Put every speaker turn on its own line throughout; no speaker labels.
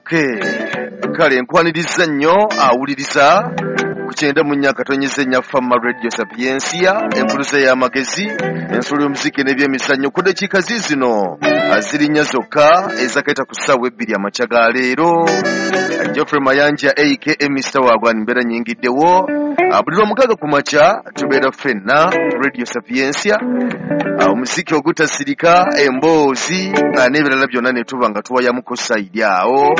Okay, kale nkwaniriza nnyo awuliriza ku 94.4 Fama Radio Sapiensia, enkuluze y'amagezi, ensolo y'omuziki n'ebyemizannyo. Ku ddakiika ziizino ziri nnya zokka ezakaita ku ssaawa 2 amakya ga leero. Geoffrey Mayanja aka Mr. Wagwan mbeera nnyingiddewo. Buli lwomukaaga ku makya tubeera ffenna Radio Sapiensia, omuziki ogutasirika, emboozi n'ebirala byonna ne tuba nga tuwayamuko sayidi awo.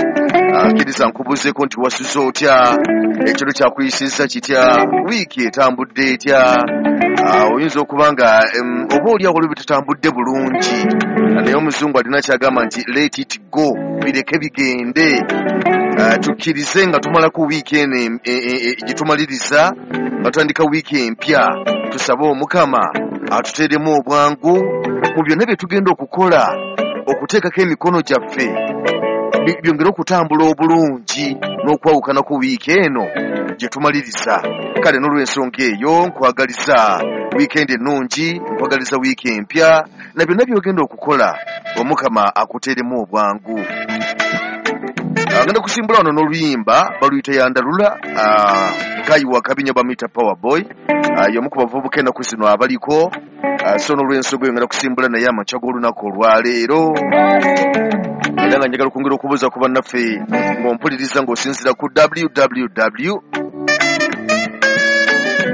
Kkiriza nkubuuzeeko nti wasuze otya, ekiro kyakuyisizza kitya, wiiki etambudde etya? Oyinza okuba nga oba oli awo olwo tetambudde bulungi, naye omuzungu alina kyagamba nti let it go, bireke bigende. Tukkirize nga tumalako wiiki eno gye tumaliriza, nga tutandika wiiki empya, tusabe Omukama atuteeremu obwangu mu byonna bye tugenda okukola, okuteekako emikono gyaffe byongere okutambula obulungi n'okwawukana ku wiiki eno gye tumaliriza. Kale n'olw'ensonga eyo nkwagaliza wiikendi ennungi, nkwagaliza wiiki empya, na byonna by'ogenda okukola Omukama akuteeremu obwangu. Ngenda kusimbula wano n'oluyimba baluyita Yandalula, Guy wa Kabinyo bamuyita Power Boy, y'omu ku bavubuka ennaku zino abaliko. So n'olw'ensonga eyo ngenda kusimbula naye amakya g'olunaku olwaleero. Era nga njagala okwongera okubuuza ku bannaffe ng'ompuliriza ng'osinziira ku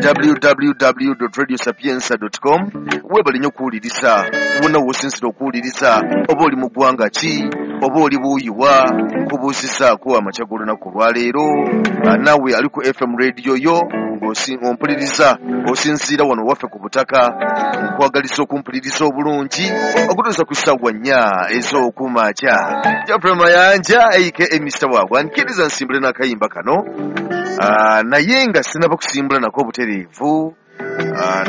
www.radiosapienza.com. Weebale nnyo okuwuliriza, wonna w'osinziira okuwuliriza, oba oli mu ggwanga ki, oba oli buuyiwa, nkubuuzizaako amakya g'olunaku olwaleero. Naawe ali ku FM radio yo ng'ompuliriza osinziira wano waffe ku butaka, nkwagaliza okumpuliriza obulungi okutuusa ku ssaawa 4 ez'okumakya. Geoffrey Mayanja aka Mr. Wagwan, kkiriza nsimbule n'akayimba kano, naye nga sinnaba kusimbula nako obutereevu,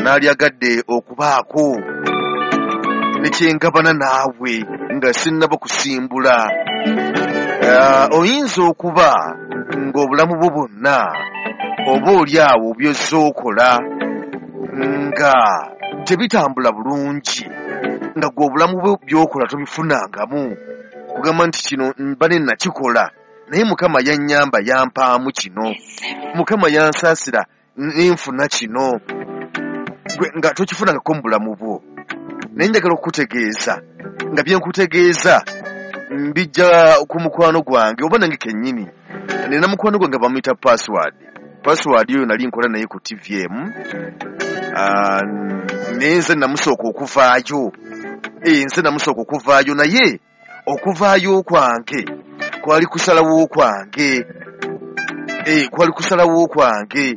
naalyagadde okubaako ne kyengabana naawe nga sinnaba kusimbula. Oyinza okuba ng'obulamu bwo bwonna oba oli awo by'ozze okola nga tebitambula bulungi, nga gwe obulamu bwo by'okola tobifunangamu, kugamba nti kino mba ne nakikola naye Mukama yannyamba yampaamu kino, Mukama yansaasira nenfuna kino, gwe nga tokifunangako mu bulamu bwo. Naye njagala okukutegeeza nga bye nkutegeeza mbijja ku mukwano gwange oba nange kennyini. Nina mukwano gwange bamuyita Password. Password oyo nali nkola naye ku TVM, naye nze namusooka okuvaayo. Nze namusooka okuvaayo, naye okuvaayo kwange kwali kusalawo kwange, kwali kusalawo kwange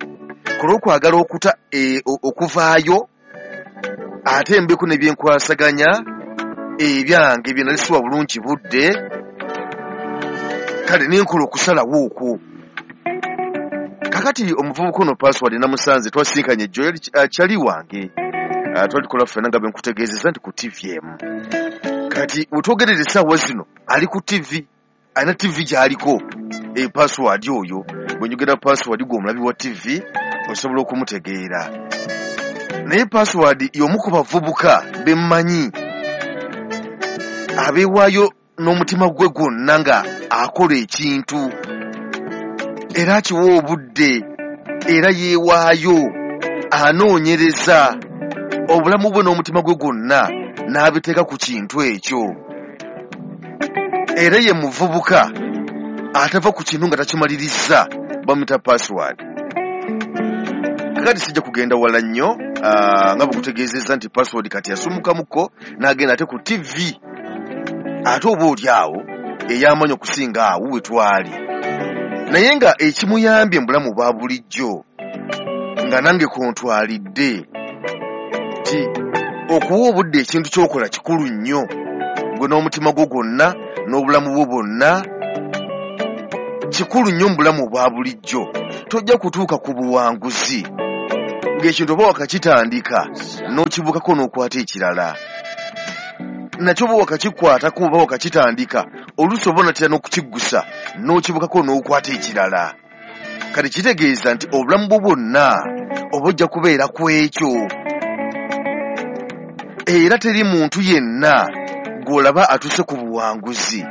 ku lw'okwagala okuta okuvaayo ate mbeko ne byenkwasaganya ebyange bye nali siwa bulungi budde. Kale ne nkola okusalawo okwo. Kakati omuvubuka ono Password namusanze, twasinkanye ejjo, yali kyali wange, twali tukola ffenna nga bwe nkutegeezezza nti ku TVM. Kati we twogerera essaawa zino ali ku TV, alina TV gy'aliko. Password oyo bwe njogera Password gwe omulabi wa TV osobola okumutegeera. Naye Password y'omu ku bavubuka be mmanyi abeewaayo n'omutima gwe gwonna nga akola ekintu, era akiwa obudde, era yeewaayo, anoonyereza obulamu bwe n'omutima gwe gwonna n'abiteeka ku kintu ekyo. Era ye muvubuka atava ku kintu nga takimaliriza, bamuyita Password. Kakati sijja kugenda wala nnyo, nga bwe kutegeezezza nti Password kati yasumukamuko n'agenda ate ku TV, ate oba oli awo ey'amaanyi okusinga awo we twali. Naye nga ekimuyambye mu bulamu bwa bulijjo nga nange kontwalidde nti okuwa obudde ekintu ky'okola kikulu nnyo, gwe n'omutima gwo gwonna n'obulamu bwo bwonna kikulu nnyo mu bulamu bwa bulijjo. Tojja kutuuka ku buwanguzi ng'ekintu oba wakakitandika n'okibukako n'okwata ekirala, nakyo oba wakakikwatako oba wakakitandika oluusi oba onatera n'okukiggusa n'okibukako n'okwata ekirala. Kati kitegeeza nti obulamu bwo bwonna oba ojja kubeera ku ekyo. Era teri muntu yenna gw'olaba atuuse ku buwanguzi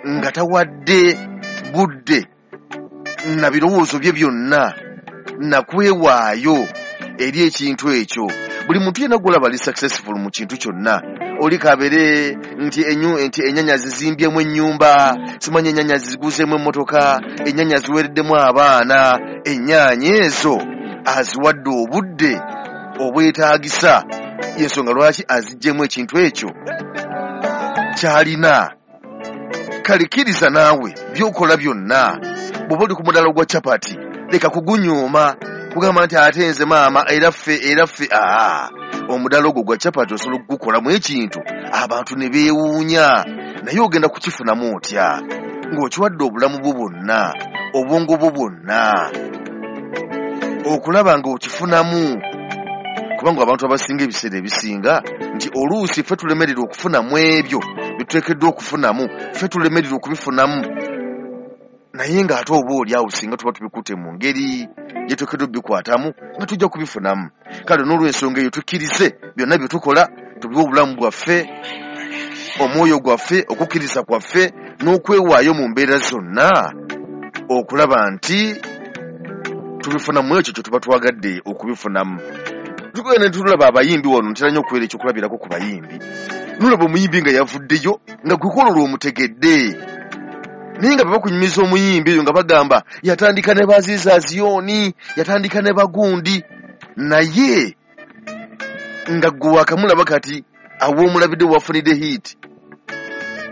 nga tawadde budde na birowoozo bye byonna nakwewaayo eri ekintu ekyo. Buli muntu yenna gw'olaba ali successful mu kintu kyonna, oli kabeere nti ennyanya zizimbyemu ennyumba, simanyi ennyanya ziguzeemu emmotoka, ennyanya ziweereddemu abaana, ennyaanya ezo aziwadde obudde obwetaagisa, y'ensonga lwaki aziggyemu ekintu ekyo ky'alina. Kale kkiriza naawe by'okola byonna, bw'oba oli ku mudaala gwa capati leka kugunyooma kugamba nti ate nze maama era ffe aa, omudaala ogwo gwa capati osobola okugukolamu ekintu abantu ne beewuunya, naye ogenda kukifunamu otya ng'okiwadde obulamu bwo bwonna, obwongo bwo bwonna okulaba ng'okifunamu. Kubanga abantu abasinga ebiseera ebisinga nti oluusi ffe tulemererwa okufunamu ebyo bye tuteekeddwa okufunamu, ffe tulemererwa okubifunamu, naye ng'ate oba oli awo singa tuba tubikutte mu ngeri gye tuteekeddwa okubikwatamu nga tujja kubifunamu. Kale n'olw'ensonga eyo tukkirize byonna bye tukola tubiwe obulamu bwaffe, omwoyo gwaffe, okukkiriza kwaffe n'okwewaayo mu mbeera zonna okulaba nti tubifunamu ekyo kye tuba twagadde okubifunamu. Tugenda ne tulaba abayimbi wano, ntera nnyo okubeera ekyokulabirako ku bayimbi. Nolaba omuyimbi nga yavuddeyo nga gwe kwolwo lw'omutegedde, naye nga bwe bakunyumiza omuyimbi oyo nga bagamba yatandika ne Baziza Zioni, yatandika ne Bagundi, naye nga gwe wakamulaba kati awoomulabidde wafunidde hit,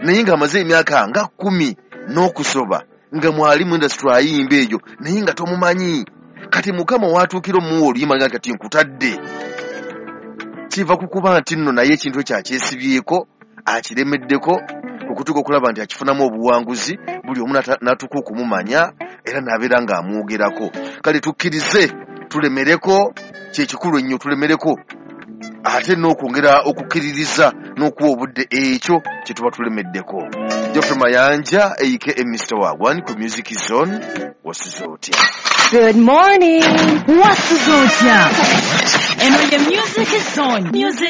naye ng'amaze emyaka nga 10 n'okusoba nga mwali mu industry ayimba eyo, naye nga tomumanyi. Kati Mukama watuukira omuwa oluyimba nga kati nkutadde, kiva ku kuba nti nno naye ekintu ekyo akyesibyeko, akiremeddeko okutuuka okulaba nti akifunamu obuwanguzi, buli omu n'atuuka okumumanya era n'abeera ng'amwogerako. Kale tukkirize tulemereko, kyekikulu ennyo tulemereko, ate n'okwongera okukkiririza n'okuwa obudde ekyo kye tuba tulemeddeko. Geoffrey Mayanja aka Mr. Wagwan ku Music Zone, wasuze otya?
Good morning. Wasuze otya? Eno ye Music Zone. Music